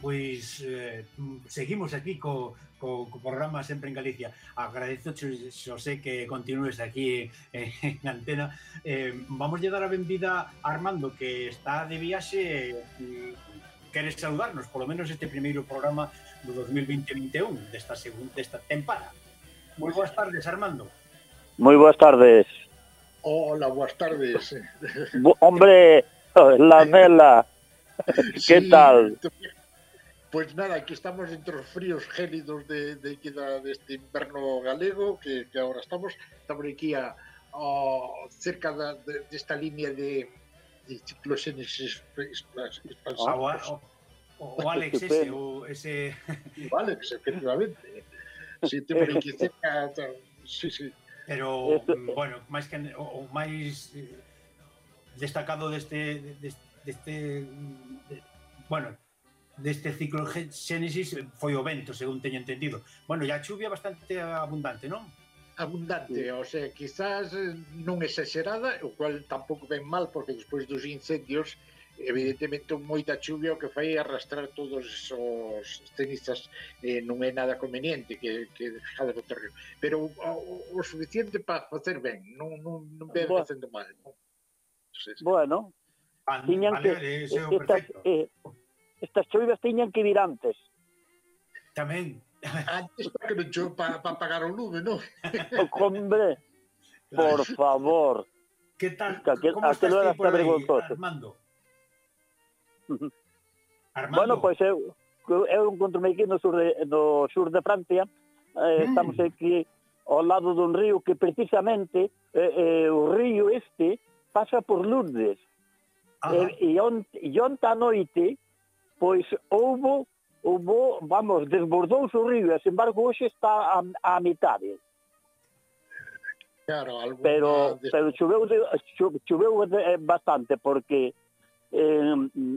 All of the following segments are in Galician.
pois seguimos aquí co programa Sempre en Galicia. Agradezo, Xosé, que continúes aquí en antena. Vamos a dar a benvida a Armando, que está de viaxe. Queres saludarnos, polo menos este primeiro programa do 2020-21 desta tempada. Moi boas tardes, Armando. Moi boas tardes. Hola, boas tardes. Hombre, la Mela. ¿Qué tal? Pues nada, aquí estamos entre os fríos gélidos deste inverno galego que agora estamos aquí cerca desta línea de cicloxénesis expansivos. O Alex ese... O Alex, efectivamente. Sí, temos aquí cerca... Sí. Pero, bueno, máis que o máis destacado deste cicloxénesis foi o vento, según teño entendido. Bueno, e a chuvia bastante abundante, non? Abundante, o sea, quizás non exagerada, o cual tampouco ven mal, porque despois dos incendios, evidentemente, moita chuvia o que fai arrastrar todos os cenizas, non é nada conveniente que dejade no terreno, pero o suficiente para facer ben, non ven facendo mal, non? Bueno, tiñan que estas choivas tiñan que vir antes. Tamén. Antes para que non chove para apagar o lume, non? Hombre, por favor. Que tal? Como estás ti por aí, Armando? Bueno, pois eu encontro-me aquí no sur de Francia. Estamos aquí ao lado dun río que precisamente o río este pasa por Lourdes. E onte a noite pois houbo, vamos, desbordouse o río, e, sin embargo, hoxe está a mitade. Claro, pero choveu bastante, porque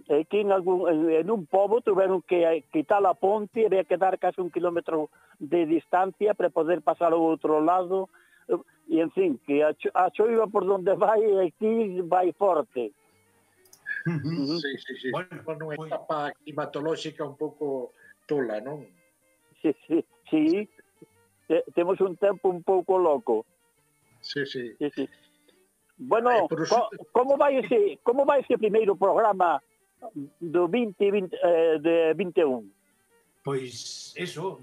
aquí en un pobo tuveron que quitar a ponte, había que dar casi 1 kilómetro de distancia para poder pasar ao outro lado, e, en fin, que a choiva por donde vai, aquí vai forte. Sí. Bueno, unha etapa climatolóxica un pouco tola, non? Sí. Temos un tempo un pouco loco. Sí. Bueno, como vai ese primeiro programa do 2021? Pois eso,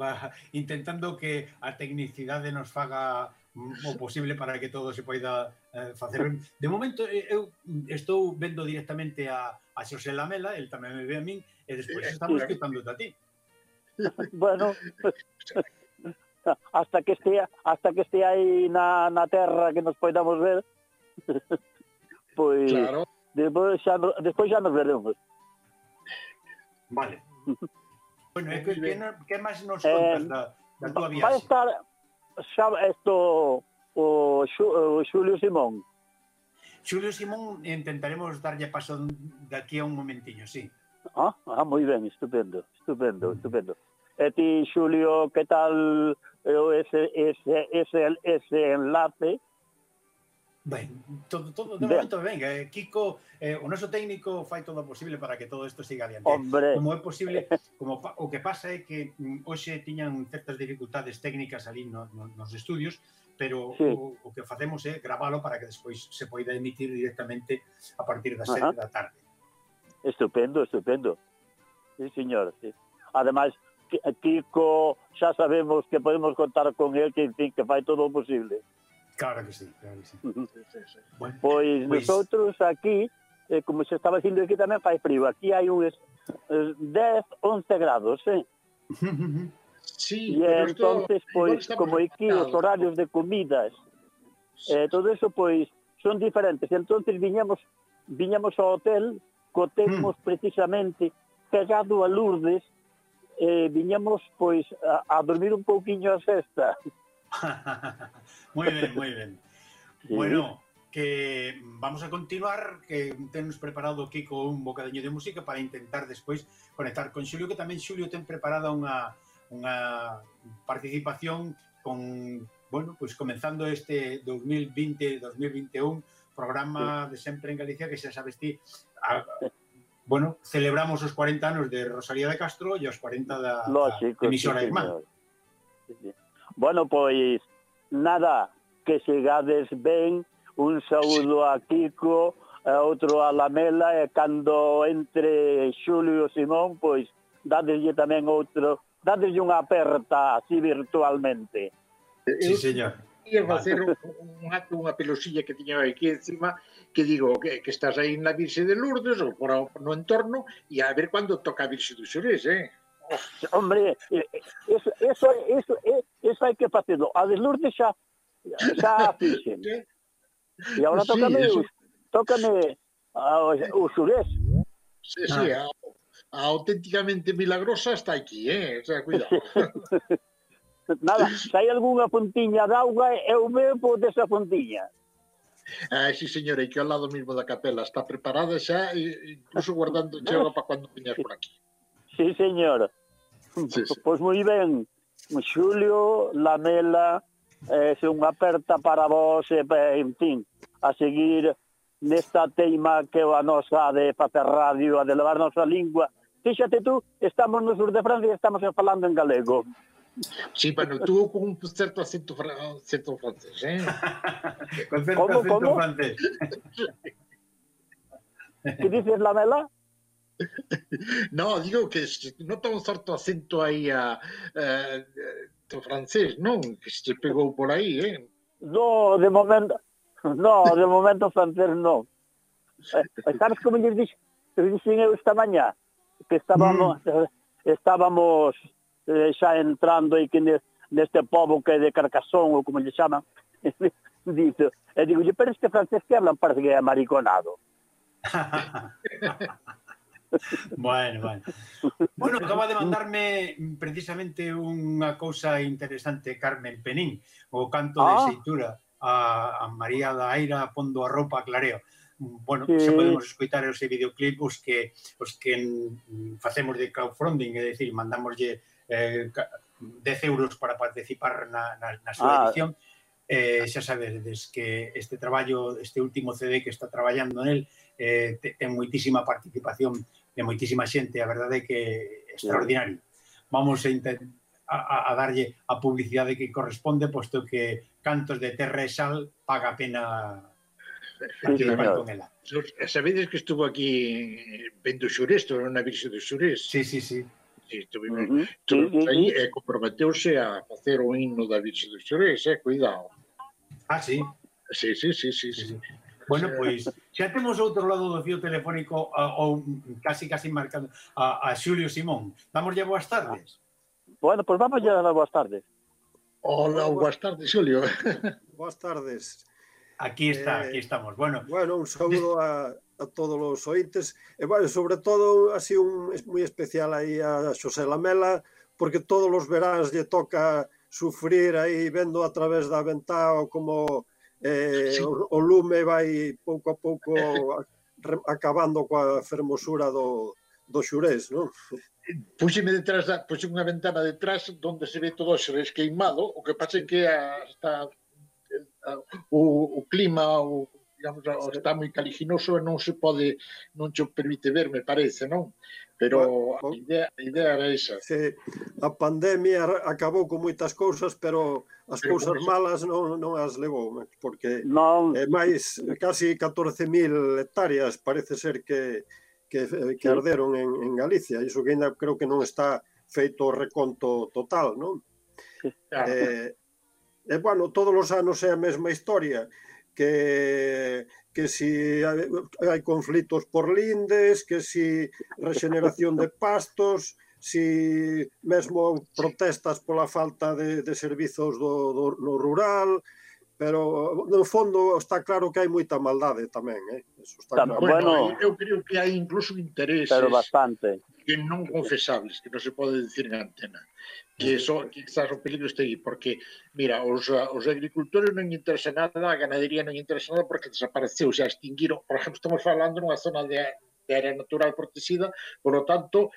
intentando que a tecnicidade nos faga o posible para que todo se poida facer. De momento, eu estou vendo directamente a Xosé Lamela, el tamén me ve a min, e despois estamos escutándote a ti. Bueno, hasta que estea aí na terra que nos podamos ver, pois claro. Despois xa nos veremos. Vale. Bueno, que máis nos contas da tua viaxe? Vai estar o Xulio Simón. Xulio Simón intentaremos darlle paso de aquí a un momentiño, sí. Moi ben, estupendo. E ti, Xulio, que tal ese enlace? Ben, todo de momento ben. Kiko, o noso técnico, fai todo o posible para que todo isto siga adiante. Hombre. Como é posible, o que pasa é que hoxe tiñan certas dificultades técnicas ali nos estudios, pero o que facemos é gravalo para que despois se poida emitir directamente a partir das 7 da tarde. Estupendo. Sí, señor. Sí. Ademais, Kiko, xa sabemos que podemos contar con él, que, en fin, que fai todo o posible. Claro que sí. Bueno, pois nosotros aquí, como se estaba dicindo, aquí tamén fai frío. Aquí hai uns 10-11 grados, Sí, e entonces, pois, como aquí os horarios de comidas, todo eso, pois, son diferentes. Entonces viñamos ao hotel, cotemos precisamente pegado a Lourdes, viñamos, pois, a dormir un pouquiño a sesta. Moi ben. Sí. Bueno, que vamos a continuar, que temos preparado Kiko un bocadiño de música para intentar despois conectar con Xulio, que tamén Xulio ten preparada unha participación con, bueno, pois comenzando este 2020-2021 programa de Sempre en Galicia, que xa sabes ti, bueno, celebramos os 40 anos de Rosalía de Castro e os 40 da emisora irmán. Bueno, pois, nada, que chegades ben, un saúdo a Kiko, outro a Lamela, e cando entre Xulio e Simón, pois, dadeslle tamén outro, dadeslle unha aperta así virtualmente. Sí, señor. Ia facer unha pelosilla que tiña aquí encima, que digo que estás aí na Virxe de Lourdes ou no entorno, e a ver cando toca a Virxe dos Xurés, Hombre, eso hai que facelo. A de Lourdes xa fixen. E agora tócame o Xurés. Sí, a auténticamente milagrosa está aquí, o sea, cuidado. Nada, se hai algunha puntiña de auga, eu bebo desa puntiña. Sí, señora, e que ao lado mismo da capela está preparada xa, incluso guardando chega para cando viñas por aquí. Sí, señor. Pois moi ben, Xulio, Lamela, se unha aperta para vos, en fin, a seguir nesta teima que é a nosa de facer radio, a de levar nosa lingua. Fíxate tú, estamos no sur de Francia e estamos falando en galego. Sí, bueno, tú con un certo acento francés, Con certo acento francés. Que dices, Lamela? No, digo que nota un certo acento aí do francés, non? Que se pegou por aí, No, de momento francés non. Sabes como lles dixen eu esta mañá? Que estábamos xa entrando aí que neste pobo que é de Carcassón, ou como lle chaman, dice, e digo, pero este francés que hablan parece que é mariconado. Bueno, acaba de mandarme precisamente unha cousa interesante Carmen Penín, o canto de Xeitura a María da Aira pondo a roupa a clareo. Bueno, se podemos escoitar ese videoclip os que facemos de crowdfunding, é dicir, mandamoslle 10 euros para participar na súa edición. Xa sabedes que este traballo, este último CD que está traballando nel, ten moitísima participación de moitísima xente, a verdade é que é extraordinario. Vamos a darlle a publicidade que corresponde, posto que Cantos de Terra e Sal paga a pena participar con ela. Sabedes que estuvo aquí vendo Xurés, na Virxe dos Xurés? Sí. Estuvimos aí e comprometeuse a facer o himno da Virxe dos Xurés, cuidado. Sí? Sí. Bueno, pois, xa temos outro lado do fío telefónico ou casi marcando a Xulio Simón. Damoslle boas tardes. Bueno, pois vamos a dar boas tardes. Hola, boas tardes, Xulio. Boas tardes. Aquí estamos. Bueno, un saúdo a todos os ointes. E, bueno, sobre todo, así moi especial aí a Xosé Lamela, porque todos os veráns lle toca sufrir aí, vendo a través da ventá como o lume vai pouco a pouco acabando coa fermosura do Xurés, non? Puxeme unha ventana detrás onde se ve todo o Xurés queimado, o que pasa é que o clima está moi caliginoso e non se permite ver, me parece, non? Pero a idea era esa. A pandemia acabou con moitas cousas, pero as cousas malas non as levou, porque máis casi 14.000 hectáreas parece ser que arderon en Galicia, iso que ainda creo que non está feito o reconto total, non? Bueno, todos os anos é a mesma historia, que si hai conflitos por lindes, que si regeneración de pastos, si mesmo protestas pola falta de servizos no rural, pero no fondo está claro que hai moita maldade tamén, Eso está claro. Bueno, eu creo que hai incluso intereses que non confesables, que non se pode dicir en antena. Que quizás o peligro este aí, porque, mira, os agricultores non interesa nada, a ganadería non interesa nada porque desapareceu, xa extinguiron. Por exemplo, estamos falando nunha zona área natural protegida, por lo tanto,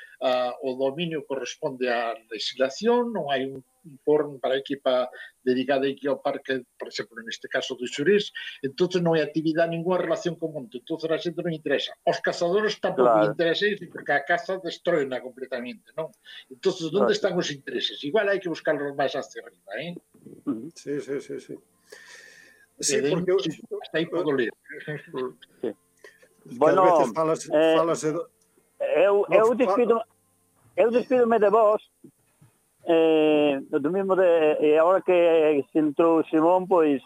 o dominio corresponde á legislación, non hai un foro para equipa dedicada aquí ao parque, por exemplo, neste caso do Xurís, entonces non hai actividade ninguna relación con o monte, entonces a xente non interesa. Os cazadores tampouco interesa iso, porque a caza destruena completamente, non? Entonces, onde están os intereses? Igual hai que buscarlos máis hacia arriba, eh? Sí. Sí, porque hasta aí podo ler. Bueno, eu despídome de vos, do mismo e agora que se entrou Simón, pois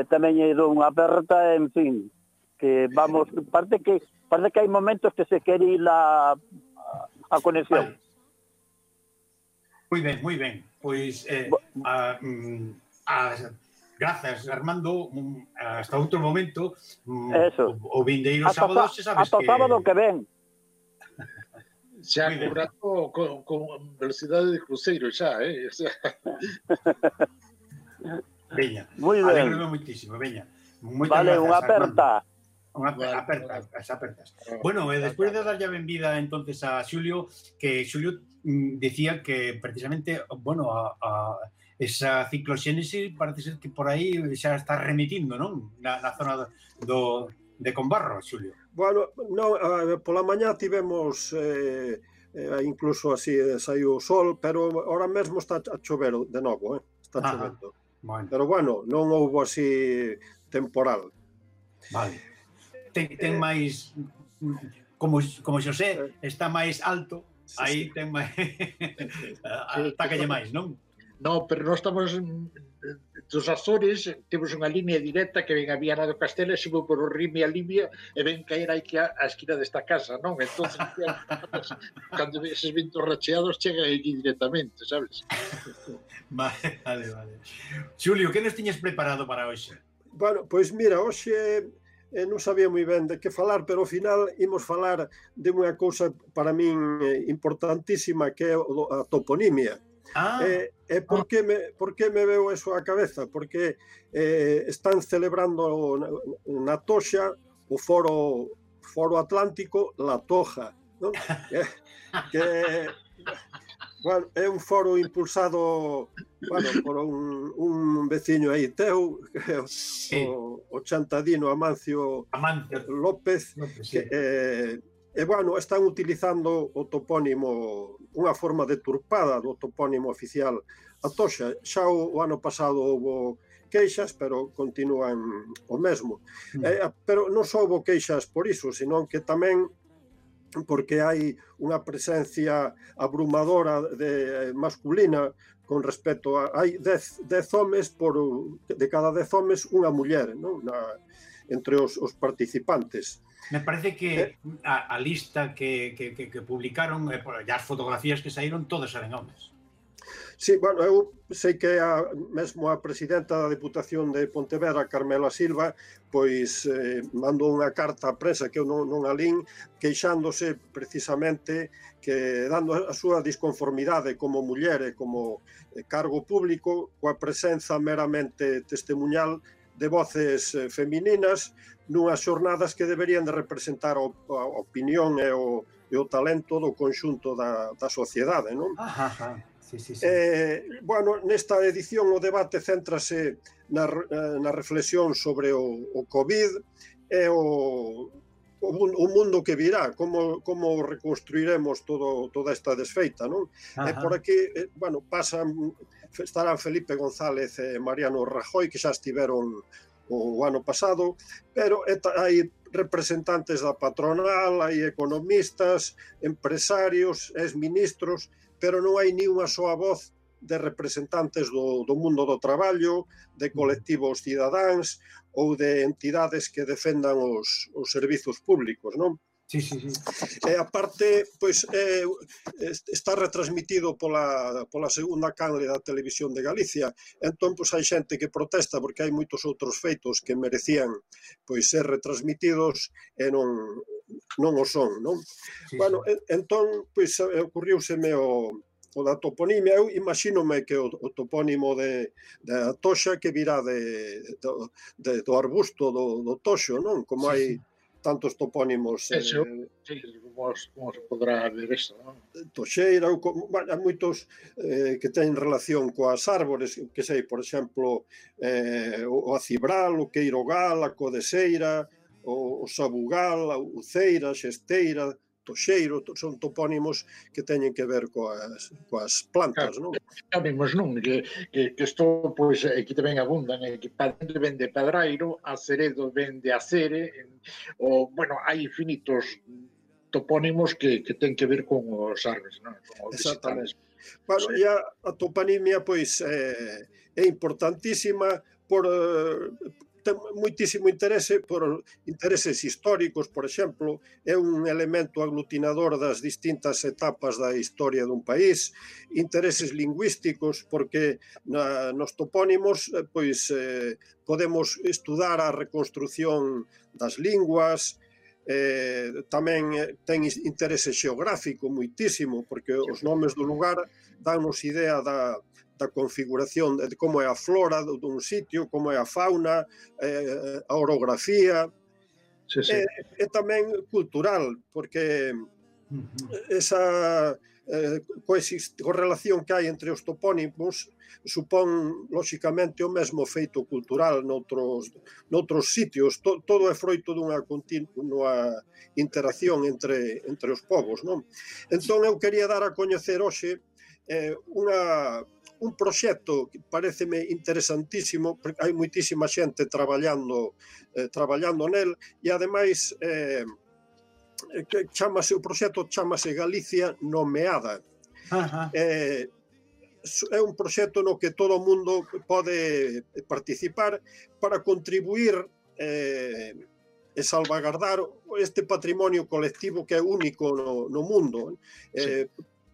tamén lle dou unha aperta, en fin, que vamos, parte que hai momentos que se quere ir a conexión. Moi ben. Pois grazas, Armando, hasta outro momento. O vindeiro sábado, se sabes que... Hasta o sábado que ven. Xa cobrando con velocidade de cruceiro, xa, Veña, alegro moitísimo, veña. Vale, unha aperta. Apertas. Bueno, despois de darlle a benvida entonces a Xulio, que Xulio decía que precisamente, bueno, a esa cicloxénese parece ser que por aí xa está remitindo, non? Na zona de Combarro, Xulio. Bueno, pola mañá tivemos incluso así saiu o sol, pero ahora mesmo está a chover de novo, está chovendo. Pero bueno, non houbo así temporal. Vale. Ten máis, como Xosé está máis alto, aí ten máis atacalle máis, non? No, pero nós estamos dos Azores, temos unha línea directa que ven a Viana do Castelo e subo por o Rime a Libia e ven caer aquí a esquina desta casa, non? Entón, cando eses ventos racheados chegan aquí directamente, sabes? Vale. Xulio, que nos tiñes preparado para hoxe? Bueno, pois mira, hoxe non sabía moi ben de que falar, pero ao final imos falar de unha cousa para min importantísima, que é a toponimia. Por que me veo eso á cabeza? Porque están celebrando na Toxa o Foro Atlántico La Toja, non? Que bueno, é un foro impulsado por un veciño aí teu, o chantadino Amancio López, e bueno, están utilizando o topónimo, unha forma deturpada do topónimo oficial a Toxa. Xa o ano pasado houve queixas, pero continúan o mesmo. Pero non só houve queixas por iso, senón que tamén porque hai unha presencia abrumadora masculina con respecto a... Hai 10 homes, de cada 10 homes unha muller, non? Entre os participantes. Me parece que a lista que publicaron, as fotografías que saíron, todas eran homes. Sí, bueno, eu sei que mesmo a presidenta da Deputación de Pontevedra, Carmela Silva, pois mandou unha carta á prensa que eu non a lín, queixándose precisamente que dando a súa disconformidade como muller e como cargo público coa presenza meramente testemunhal de voces femininas nunhas xornadas que deberían de representar a opinión e o talento do conxunto da sociedade, non? Sí. Bueno, nesta edición o debate céntrase na reflexión sobre o COVID e o mundo que virá, como reconstruiremos toda esta desfeita, non? E por aquí, bueno, estarán Felipe González e Mariano Rajoy, que xa estiveron o ano pasado, pero hai representantes da patronal, hai economistas, empresarios, exministros, pero non hai ni unha soa voz de representantes do mundo do traballo, de colectivos cidadáns ou de entidades que defendan os servizos públicos, non? Sí. E aparte, pois, está retransmitido pola segunda canle da Televisión de Galicia. Entón, pois, hai xente que protesta porque hai moitos outros feitos que merecían pois ser retransmitidos e non o son, non? Bueno, entón, pois, ocurriúseme o da toponimia. Eu imagínome que o topónimo da Toxa que virá do arbusto do toxo, non? Como hai tantos topónimos Eso, sí, como se podrá ver eso, non? Toxeira, hai moitos que teñen relación coas árbores, que sei, por exemplo, o acibral, o queirogal, a codeseira, o sabugal, a uceira, a xesteira, toxeiro, son topónimos que teñen que ver coas plantas, non? Sabemos, non? Que isto, pois, aquí tamén abundan, que Padre ven de Padrairo, Aceredo ven de Acere, bueno, hai infinitos topónimos que ten que ver con os árboles, non? Con os vegetales. Exactamente. Bueno, e a toponimia, pois, é importantísima por ten moitísimo interese por intereses históricos, por exemplo, é un elemento aglutinador das distintas etapas da historia dun país, intereses lingüísticos, porque nos topónimos pois podemos estudar a reconstrucción das linguas, tamén ten interese xeográfico moitísimo, porque os nomes do lugar dannos idea da configuración, de como é a flora dun sitio, como é a fauna, a orografía, e tamén cultural, porque esa correlación que hai entre os topónimos supón, lóxicamente, o mesmo feito cultural noutros sitios. Todo é froito dunha continua interacción entre os povos, non? Entón, eu quería dar a coñecer hoxe un proxecto que pareceme interesantísimo, porque hai moitísima xente traballando nel, e ademais o proxecto chamase Galicia Nomeada. É un proxecto no que todo o mundo pode participar para contribuir e salvagardar este patrimonio colectivo que é único no mundo.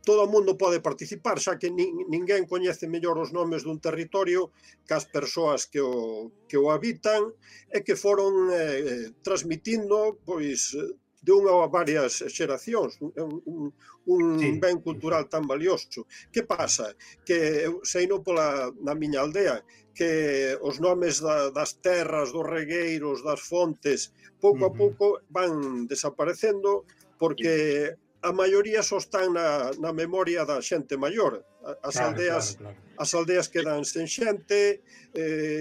Todo o mundo pode participar, xa que ninguén coñece mellor os nomes dun territorio que as persoas que o habitan e que foron transmitindo, pois, de unha ou varias xeracións, un ben cultural tan valioso. Que pasa? Que eu sei na miña aldea que os nomes das terras, dos regueiros, das fontes, pouco a pouco van desaparecendo porque a maioría só están na memoria da xente maior. As aldeas quedan sen xente,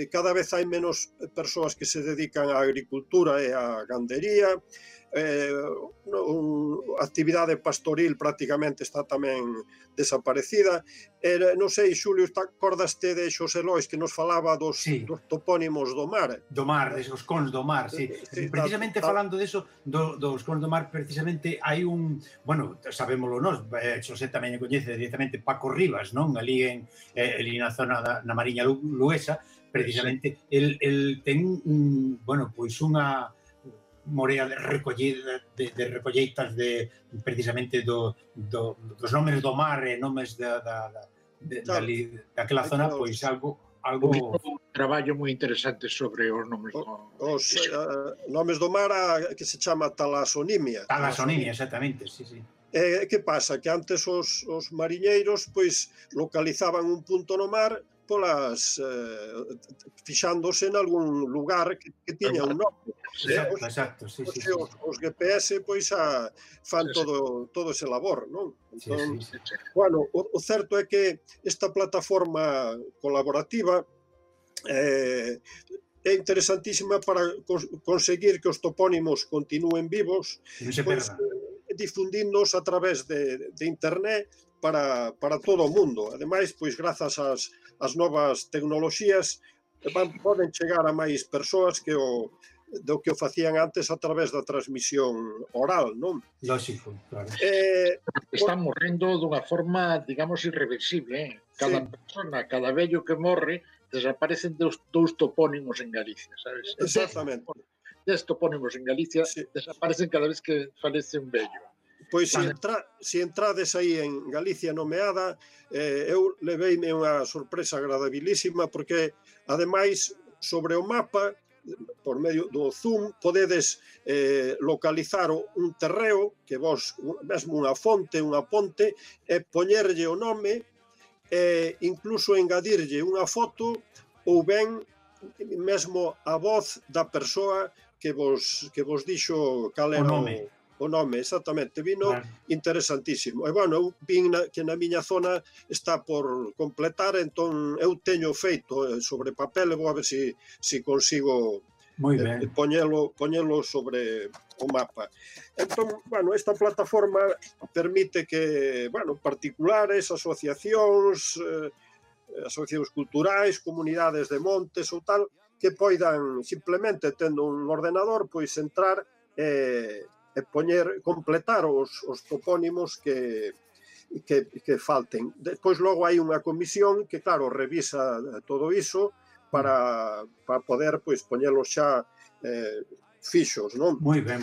cada vez hai menos persoas que se dedican á agricultura e á gandería, a actividade pastoril prácticamente está tamén desaparecida. Non sei, Xulio, acordaste de Xosé Lois que nos falaba dos topónimos do mar? Do mar, os cons do mar, sí. Precisamente falando deso, dos cons do mar, precisamente hai un, bueno, sabémolo nós, Xosé tamén coñece directamente Paco Rivas, non? Ali na zona na Mariña Luesa, precisamente, el ten, bueno, pois unha morea de recolleitas precisamente dos nomes do mar e nomes daquela zona, pois algo... Un traballo moi interesante sobre os nomes do mar. Os nomes do mar que se chama talasonimia. Talasonimia, exactamente, sí. Que pasa? Que antes os mariñeiros pois localizaban un punto no mar fixándose en algún lugar que tiña un nome. Exacto, sí. Os GPS pois fan todo ese labor, non? Entón, bueno, o certo é que esta plataforma colaborativa é interesantísima para conseguir que os topónimos continúen vivos, difundíndoos a través de internet para todo o mundo. Ademais, pois, grazas ás novas tecnoloxías, poden chegar a máis persoas do que o facían antes a través da transmisión oral, non? Lógico, claro. Están morrendo dunha forma, digamos, irreversible. Cada persona, cada vello que morre, desaparecen dous topónimos en Galicia, sabes? Exactamente. 10 topónimos en Galicia desaparecen cada vez que falece un vello. Pois se entrades aí en Galicia Nomeada, eu leveime unha sorpresa agradabilísima, porque, ademais, sobre o mapa, por medio do zoom, podedes localizar un terreo, que vos, mesmo unha fonte, unha ponte, e poñerlle o nome, e incluso engadirlle unha foto, ou ben mesmo a voz da persoa vos dixo cal era o nome, exactamente, vino interesantísimo. E, bueno, eu vin que na miña zona está por completar, entón eu teño feito sobre papel e vou a ver se consigo poñelo sobre o mapa. Entón, bueno, esta plataforma permite que, bueno, particulares, asociacións culturais, comunidades de montes ou tal, que poidan simplemente tendo un ordenador, pois entrar e completar os topónimos que falten. Despois logo hai unha comisión que, claro, revisa todo iso para poder pois poñelos xa fixos, non? Moi ben.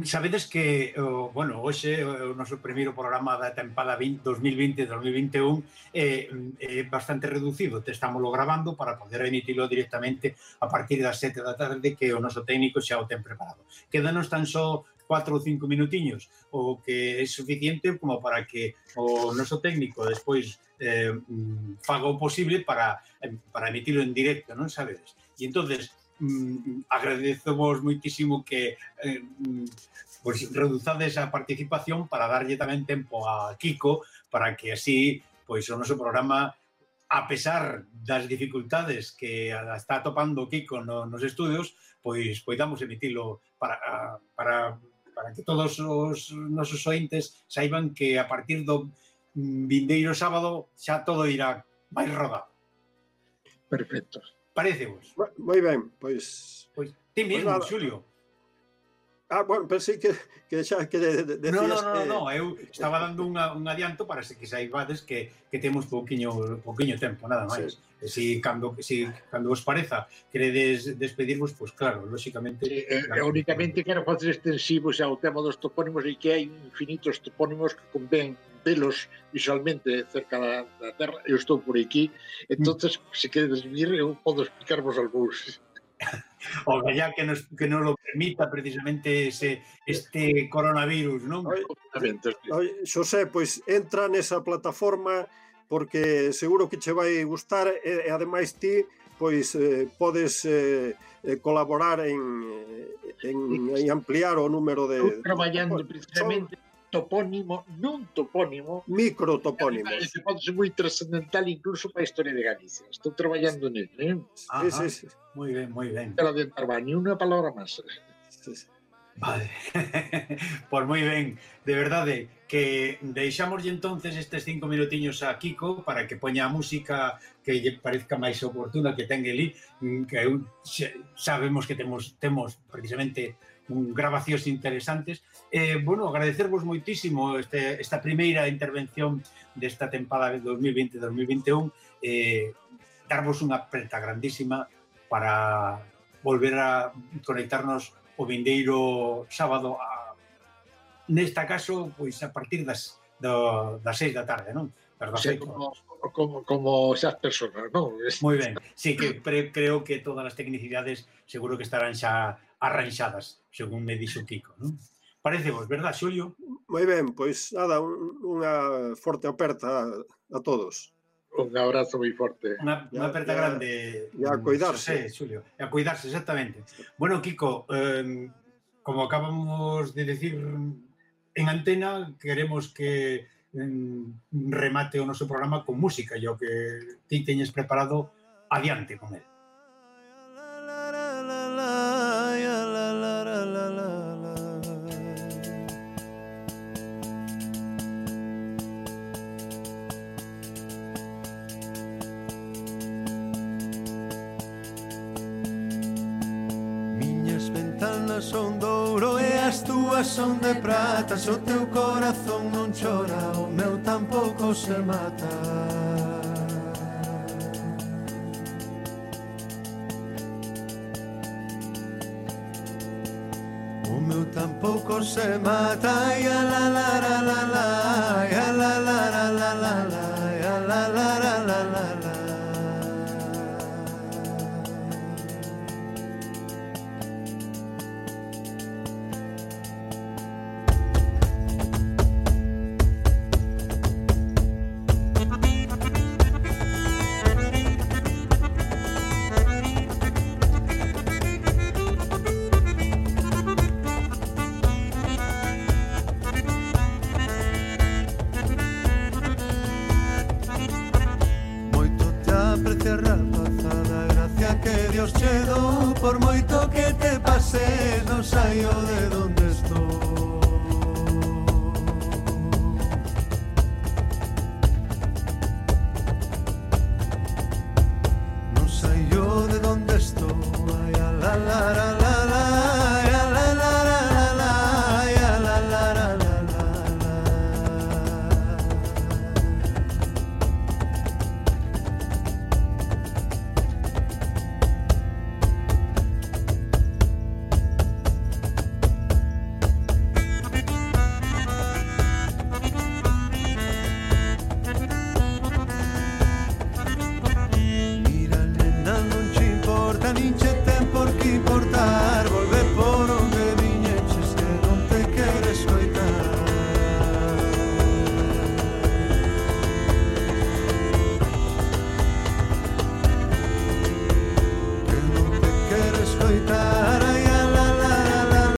Sabedes que, bueno, hoxe o noso primeiro programa da tempada 2020-2021 é bastante reducido. Estámoslo grabando para poder emitilo directamente a partir das 7 da tarde, que o noso técnico xa o ten preparado. Quédanos tan só 4 ou 5 minutiños, o que é suficiente como para que o noso técnico despois faga o posible para emitilo en directo, non sabedes? E entonces agradecemos moitísimo que pois reduzades a participación para darlle tamén tempo a Kiko para que así pois o noso programa, a pesar das dificultades que está atopando Kiko nos estudios, pois poidamos emitilo para que todos os nosos ointes saiban que a partir do vindeiro sábado xa todo irá máis rodado. Perfecto. Parecevos? Moi ben, pois ti mesmo, Xulio. Bueno, pensei que xa que decías que... No, eu estaba dando un adianto para que saibades que temos pouquiño tempo, nada máis. Si cando vos pareza queredes despedirvos, pois claro, lóxicamente... Únicamente quero facer extensivo xa o tema dos topónimos e que hai infinitos topónimos que convén velos visualmente cerca da terra. Eu estou por aquí, entonces se queredes vir eu podo explicarvos algúns. O ya que nos lo permita precisamente este coronavirus, non? Xosé, pois entra nesa plataforma porque seguro que che vai gustar e ademais ti pois podes colaborar en ampliar o número de... Estou traballando precisamente topónimo, non topónimo, microtopónimos. Que pode ser moi trascendental incluso para a historia de Galicia. Estou traballando nele. Sí. Moi ben. Pero adiantar va, ni unha palabra máis. Vale. Pois moi ben. De verdade, que deixámoslle entonces estes 5 minutiños a Kiko para que poña a música que lle parezca máis oportuna que ten ali, que sabemos que temos precisamente grabacións interesantes. Bueno, agradecervos moitísimo esta primeira intervención desta tempada de 2020-2021, darvos unha aperta grandísima para volver a conectarnos o vindeiro sábado, nesta caso, pois a partir das 6 da tarde, non? Como esas persoas, non? Moi ben, sí, que creo que todas as tecnicidades seguro que estarán xa arranxadas, según me dixo Kiko, non? Parecevos, verdad, Xulio? Moi ben, pois nada, unha forte aperta a todos. Un abrazo moi forte. Unha aperta grande. E a cuidarse. Xulio, a cuidarse, exactamente. Bueno, Kiko, como acabamos de decir en antena, queremos que remate o noso programa con música, e o que ti teñes preparado, adiante con el. Son de ouro e as túas son de prata. Se o teu corazón non chora, o meu tampouco se mata. O meu tampouco se mata. Ya la la la la la, ya la la la la la la, ya la la la la la la. chedo, por moito que te pases, non saio de donde